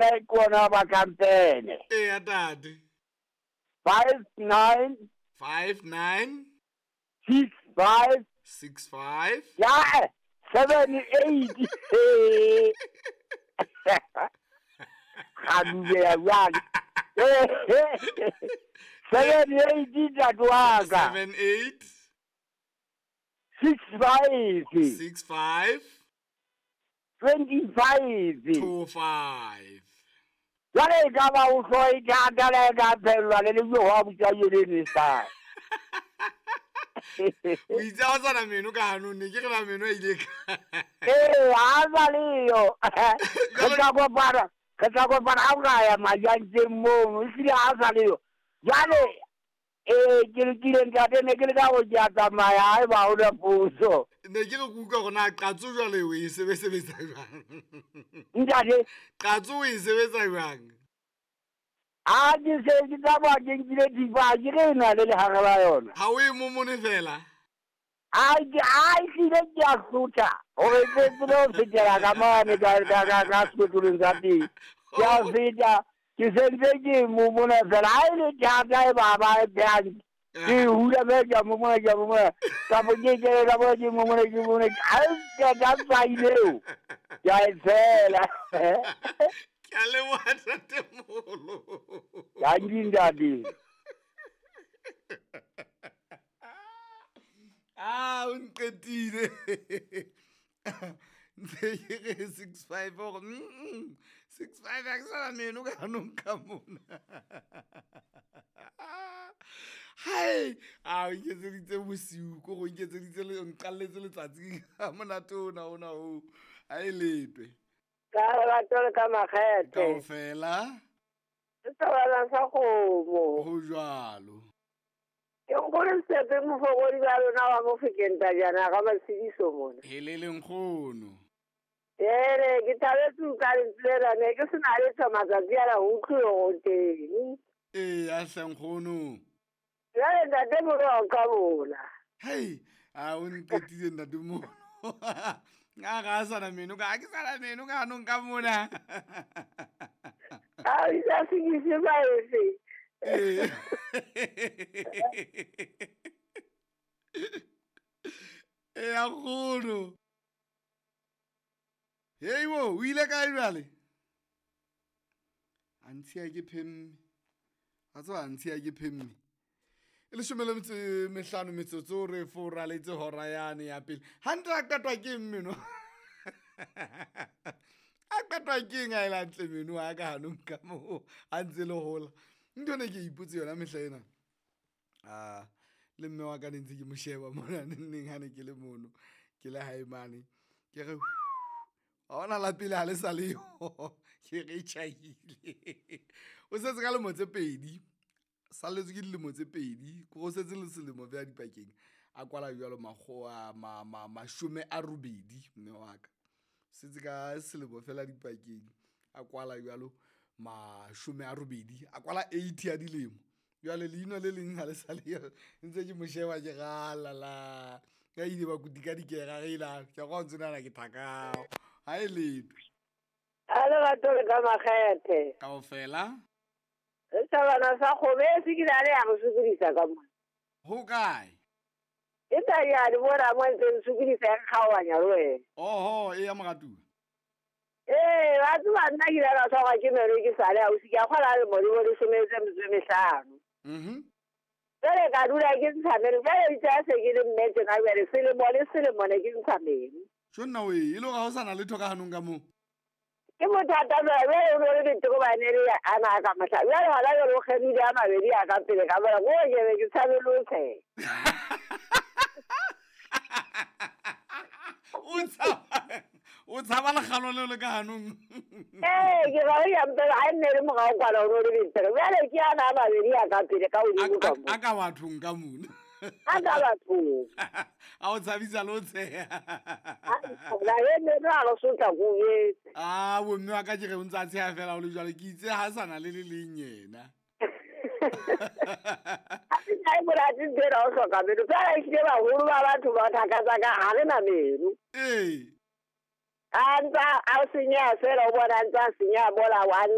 Ke ona ba kampene. Eya tate. 59 59 65 65 ya 78. Ga dubeya bjale. 78 ntate wa ka. 78 65 65 25 25. Jwale e ka ba o hlo e thata le e ka phellwa le le jo wa botsa yone sa. O itse ha o sana meno ka hanong, ne ke re na meno a ile ka. Ee, ha sa leyo. Re tla kopana, re tla kopana ha o ka ya majantseng mono, ehlile ha sa leyo. Jwale ke lokile ntate, ne ke le ka go ke a tsamaya ha eba ha hona potso. Ne ke re ke utlwa hore na qatso jwale o e sebesebetsa jwang? Ntate? Qatso o e sebetsa jwang? Ha ke se ke tsamaya ke nkile thipa, ha ke re e na le lehare la yona. Ha o e momone fela? A ke a ehlile ke a hlotha hore ke tsebe ho fetela ka mane ka sekotlolong sa teng. Ke a feta, ke sentse ke momona fela. Ha e le thata e ba ba e phehang, ke e hula fela ke a momona, ke a momona. Kapo ke kene ka mona, ke momona, ke momona. Ha e qeta tswai leo, ke a e tshela. Ke a leboha ntatemoholo. Dankie ntate. Ah, o nqetile. Ntse ke re 65 hore 65 ha ke sana meno ka hanong ka mona. Hai, a o nketseditse bosiu, ko go nketseditse le nqalletse letsatsi ha monate ona ona o. Ha e letwe. Ka lerato le ka makgethe. Kaofela. Sethabana sa kgomo. Ho jwalo. Ke nkgono Sepe mofokodi ba lona wa Mofokeng Tajana ga Matshidiso mona. Helele nkgono. Ele ke thabetse ho utlwa lentswe lena, ne ke sena letho matsatsi ana ho utlwe hore o teng. Ee, a hle nkgono. Jwale ntate Molo wa nqabola. Hei, a o nqetile ntate Molo. A ga a sana meno ka, ha ke sana meno ka hanong ka mona. A o isa sekise baefe. Ee. Ee, a nkgono. Hei bo, o ile kae jwale? A ntshiya ke phemme. A tseba a ntshiya ke phemme. E leshome le metso e mehlano metsotso re foraletse hora yane ya pele. Hantle a qetwa ke eng meno? A qetwa ke eng ha e le hantle meno a ka hanong ka moo a ntse le hola. Ntho ene ke ipotse yona mehla ena. Ah, le mme wa ka ne ntse ke mo sheba mona neng ha ne ke le mono. Ke le hae mane. Ke re ha ona la pele ha le sa leyo. Ke re tjhaile. O setse ka lemo tse pedi. Salletswe ke dilemo tse pedi. Ko go setse le selemo feela dipakeng. A kwala jwalo makgowa mashome a robedi mme wa ka. Setse ka selemo fela dipakeng. A kwala jwalo 80. A kwala 80 ya dilemo. Jwale leino le leng ha le sa leyo. Ntse ke mo sheba ke rala la. Ka ile ba kutika dikera re ila. Ke go ntse nana ke thakao. Ha e letwe. A le batho le ka makgethe. Kaofela. Re thabana sa kgomo e se ke la le ya go sokodisa ka mona. Ho kae? E tanyane mona mo ntse re sokodisa e kgaohanya le wena. Oho, e ya moratuwa. Ee, ba tseba nna ke ile ka tshwarwa ke meno ke sale ausi, ke a kgolwa le modimo le sometse metso e mehlano. Jwale ka dula ke ntsha meno, jwale itse ha se ke le mme tjena jwale selemo le selemo ne ke ntsha meno. Tjho nna wee, e le hore ha o sana letho ka hanong ka moo? Ke bothata jwale, jwale o no le betere hobane le ana a ka mohla. Jwale hona jwale o kgemile a mabedi a ka pele ka mona, ko ke be ke tshabe le ho tsheha. O tshaba lekgalo leo le ka hanong. Ee, ke ra ya mpela ha nne le morao kwana o no le betere. Jwale ke ana a mabedi a ka pele ka hodimo ka moo. A ka bathong ka mona. A ka bathong. A o tshabisa le ho tsheha. La e ne a lo sotla ko etse. Ah, bo mme wa ka ke re o ntse a tsheha fela o le jwalo, ke itse ha sana le le leng yena. Ha se na e monate ntho ena o hloka meno. Fela ehlile baholo ba batho ba thaka tsa ka ha re na meno. Ee. A ntsa a senyeha fela o bona a ntsa a senyeha mola wa